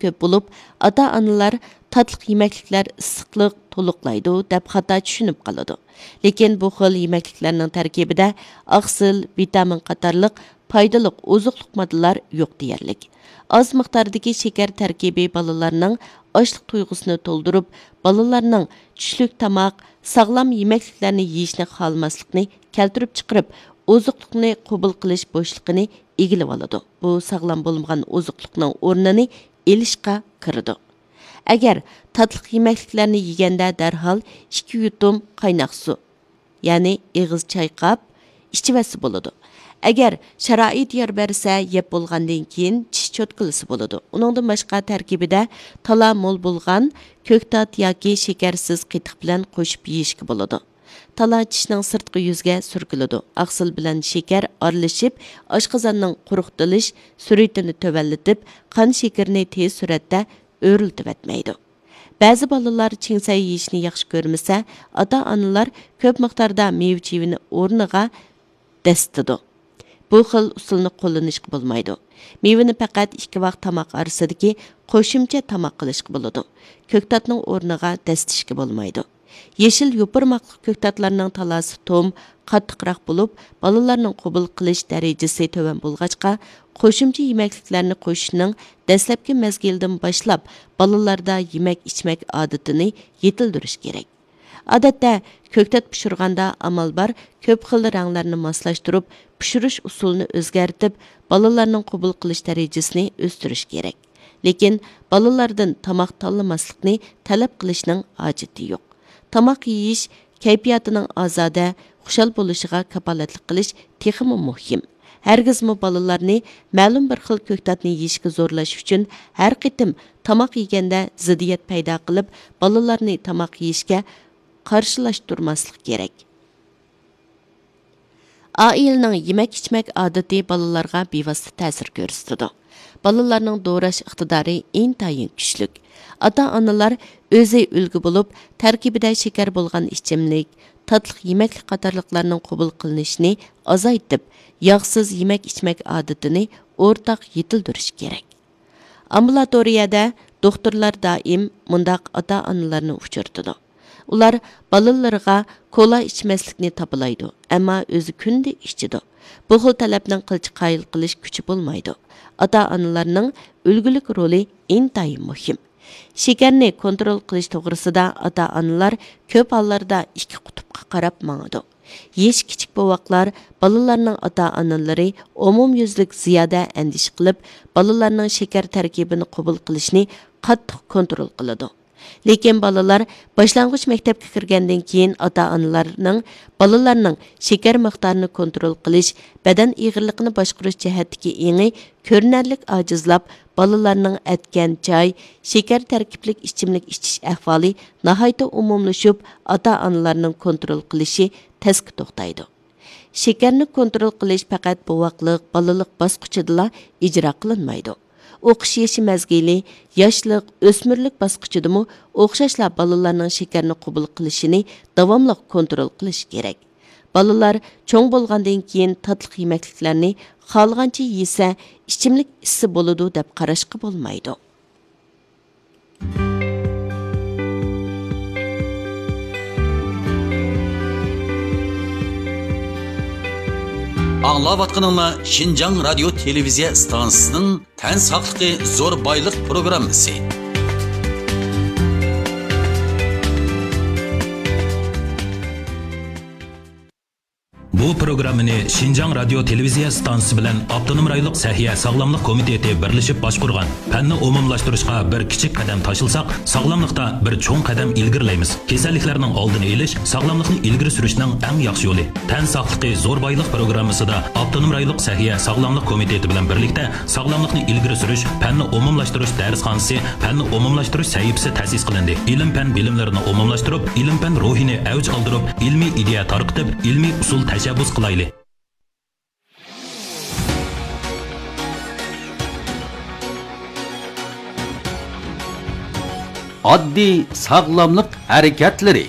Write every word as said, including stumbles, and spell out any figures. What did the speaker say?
كۆپ بولۇپ، ئاتا-ئانىلار تاتلىق يېمەكلىكلەر ئىسسىقلىق تولۇقلايدۇ دەپ خاتا چۈشىنىپ قالىدۇ. لېكىن بۇ خىل يېمەكلىكلەرنىڭ تەركىبىدە ئاقسىل، ۋىتامىن قاتارلىق پايدىلىق ئوزۇقلۇق ماددىلار يوق دېيەرلىك. ئاز مىقداردىكى شېكەر تەركىبى بالىلارنىڭ ئاچلىق تۇيغۇسىنى تولدۇرۇپ، بالىلارنىڭ چۈشلۈك تاماق، ساغلام يېمەكلىكلەرنى يېيىشنى خالىماسلىقىنى كەلتۈرۈپ چىقىرىپ، ئوزۇقلۇقنى قوبۇل قىلىش بوشلۇقىنى ئىگىلىۋالىدۇ. بۇ ساغلام بولمىغان ئوزۇقلۇقنىڭ ئورنىنى ئېلىشقا كىرىدۇ. ئەگەر تاتلىق يېمەكلىكلەرنى يېگەندە دەرھال ئىككى يۇتۇم قايناق سۇ، يەنى ئېغىز چايقاپ ئىچىۋەتسە بولىدۇ. ئەگەر شارائىت يار بەرسە، يەپ بولغاندىن كېيىن چىش چوتكىلىسا بولىدۇ. ئۇنىڭدىن باشقا تەركىبىدە تالا مول بولغان كۆكتات ياكى شېكەرسىز قېتىق بىلەن قوشۇپ يېيىشكە بولىدۇ. تالا چىشنىڭ سىرتقى يۈزىگە سۈركىلىدۇ. ئاقسىل بىلەن شېكەر ئارىلىشىپ، ئاشقازاننىڭ قۇرۇقدىلىش سۈرئىتىنى تۆۋەنلىتىپ، قان شېكىرىنى تېز سۈرئەتتە ئۆرلىتىۋەتمەيدۇ. بەزى بالىلار چىڭسەي يېيىشنى ياخشى كۆرمىسە، ئاتا-ئانىلار كۆپ مىقداردا مېۋە-چېۋىنى ئورنىغا دەسسىتىدۇ. بۇ خىل ئۇسۇلنى قوللىنىشقا بولمايدۇ. مېۋىنى پەقەت ئىككى ۋاق تاماق ئارىسىدىكى قوشۇمچە تاماق قىلىشقا بولىدۇ. كۆكتاتنىڭ ئورنىغا دەسسىتىشكە بولمايدۇ. يېشىل يوپۇرماقلىق كۆكتاتلارنىڭ تالاسى توم، قاتتىقراق بولۇپ، بالىلارنىڭ قوبۇل قىلىش دەرىجىسى تۆۋەن بولغاچقا، قوشۇمچە يېمەكلىكلەرنى قوشۇشنىڭ دەسلەپكى مەزگىلىدىن باشلاپ بالىلاردا يېمەك-ئىچمەك ئادىتىنى يېتىلدۈرۈش كېرەك. ئادەتتە، كۆكتات پىشۇرغاندا ئامال بار كۆپ خىل رەڭلەرنى ماسلاشتۇرۇپ، پىشۇرۇش ئۇسۇلىنى ئۆزگەرتىپ، بالىلارنىڭ قوبۇل قىلىش دەرىجىسىنى ئۆستۈرۈش كېرەك. لېكىن بالىلاردىن تاماق تاللىماسلىقنى تەلەپ قىلىشنىڭ ھاجىتى يوق. تاماق يېيىش كەيپىياتىنىڭ ئازادە، خۇشال بولۇشىغا كاپالەتلىك قىلىش تېخىمۇ مۇھىم. ھەرگىزمۇ بالىلارنى مەلۇم بىر خىل كۆكتاتنى يېيىشكە زورلاش ئۈچۈن ھەر قېتىم تاماق يېگەندە زىددىيەت پەيدا قىلىپ، بالىلارنى تاماق يېيىشكە قارشىلاشتۇرماسلىق كېرەك. ئائىلىنىڭ يېمەك-ئىچمەك ئادىتى بالىلارغا بىۋاسىتە تەسىر كۆرسىتىدۇ. بالىلارنىڭ دوراش ئىقتىدارى ئىنتايىن كۈچلۈك. ئاتا-ئانىلار ئۆزى ئۈلگە بولۇپ، تەركىبىدە شېكەر بولغان ئىچىملىك، تاتلىق يېمەكلىك قاتارلىقلارنىڭ قوبۇل قىلىنىشىنى ئازايتىپ، ياغسىز يېمەك-ئىچمەك ئادىتىنى ئورتاق يېتىلدۈرۈش كېرەك. ئامبۇلاتورىيەدە دوختۇرلار دائىم مۇنداق ئاتا-ئانىلارنى ئۇچرىتىدۇ. ئۇلار بالىلىرىغا كولا ئىچمەسلىكنى تاپىلايدۇ، ئەمما ئۆزى كۈندە ئىچىدۇ. بۇ خىل تەلەپنىڭ قىلچە قايىل قىلىش كۈچى بولمايدۇ. ئاتا-ئانىلارنىڭ ئۈلگىلىك رولى ئىنتايىن مۇھىم. شېكەرنى كونترول قىلىش توغرىسىدا ئاتا-ئانىلار كۆپ ھاللاردا ئىككى قۇتۇپقا قاراپ ماڭىدۇ. يېشى كىچىك بوۋاقلار، بالىلارنىڭ ئاتا-ئانىلىرى ئومۇميۈزلۈك زىيادە ئەندىشە قىلىپ، بالىلارنىڭ شېكەر تەركىبىنى قوبۇل قىلىشنى قاتتىق كونترول قىلىدۇ. لېكىن بالىلار باشلانغۇچ مەكتەپكە كىرگەندىن كېيىن، ئاتا-ئانىلارنىڭ بالىلارنىڭ شېكەر مىقدارىنى كونترول قىلىش، بەدەن ئېغىرلىقىنى باشقۇرۇش جەھەتتىكى ئېڭى كۆرۈنەرلىك ئاجىزلاپ، بالىلارنىڭ ئەتكەن چاي، شېكەر تەركىبلىك ئىچىملىك ئىچىش ئەھۋالى ناھايىتى ئومۇملىشىپ، ئاتا-ئانىلارنىڭ كونترول قىلىشى تەسكە توختايدۇ. شېكەرنى كونترول قىلىش پەقەت بوۋاقلىق، بالىلىق باسقۇچىدىلا ئىجرا قىلىنمايدۇ. ئوقۇش يېشى مەزگىلى، ياشلىق، ئۆسمۈرلۈك باسقۇچىدىمۇ ئوخشاشلا بالىلارنىڭ شېكەرنى قوبۇل قىلىشىنى داۋاملىق كونترول قىلىش كېرەك. بالىلار چوڭ بولغاندىن كېيىن تاتلىق يېمەكلىكلەرنى خالىغانچە يېسە، ئىچىملىك ئىچسە بولىدۇ دەپ قاراشقا بولمايدۇ. ئاڭلاۋاتقىنىڭلار شىنجاڭ رادىيو تېلېۋىزىيە ئىستانسىسىنىڭ تەن ساقلىقى زور بايلىق پروگراممىسى. بۇ پروگراممىنى شىنجاڭ رادىيو تېلېۋىزىيە ئىستانسىسى بىلەن ئاپتونوم رايونلۇق سەھىيە ساغلاملىق كومىتېتى بىرلىشىپ باشقۇرغان. پەننى ئومۇملاشتۇرۇشقا بىر كىچىك قەدەم تاشلىساق، ساغلاملىقتا بىر چوڭ قەدەم ئىلگىرىلەيمىز. كېسەللىكلەرنىڭ ئالدىنى ئېلىش، ساغلاملىقنى ئىلگىرى سۈرۈشنىڭ ئەڭ ياخشى يولى. تەن ساقلىقى زور بايلىق پروگراممىسىدا ئاپتونوم رايونلۇق سەھىيە ساغلاملىق كومىتېتى بىلەن بىرلىكتە ساغلاملىقنى ئىلگىرى سۈرۈش، پەننى ئومۇملاشتۇرۇش دەرسخانىسى، پەننى ئومۇملاشتۇرۇش سەھىپىسى تەسىس قىلىندى. ئىلىم-پەن بىلىملىرىنى ئومۇملاشتۇرۇپ، ئىلىم-پەن روھىنى ئەۋج ئالدۇرۇپ، ئىلمىي ئىدىيە تارقىتىپ، ئىلمىي ئۇسۇل تەشەببۇس قىلايلى. ئاددىي ساغلاملىق ھەرىكەتلىرى.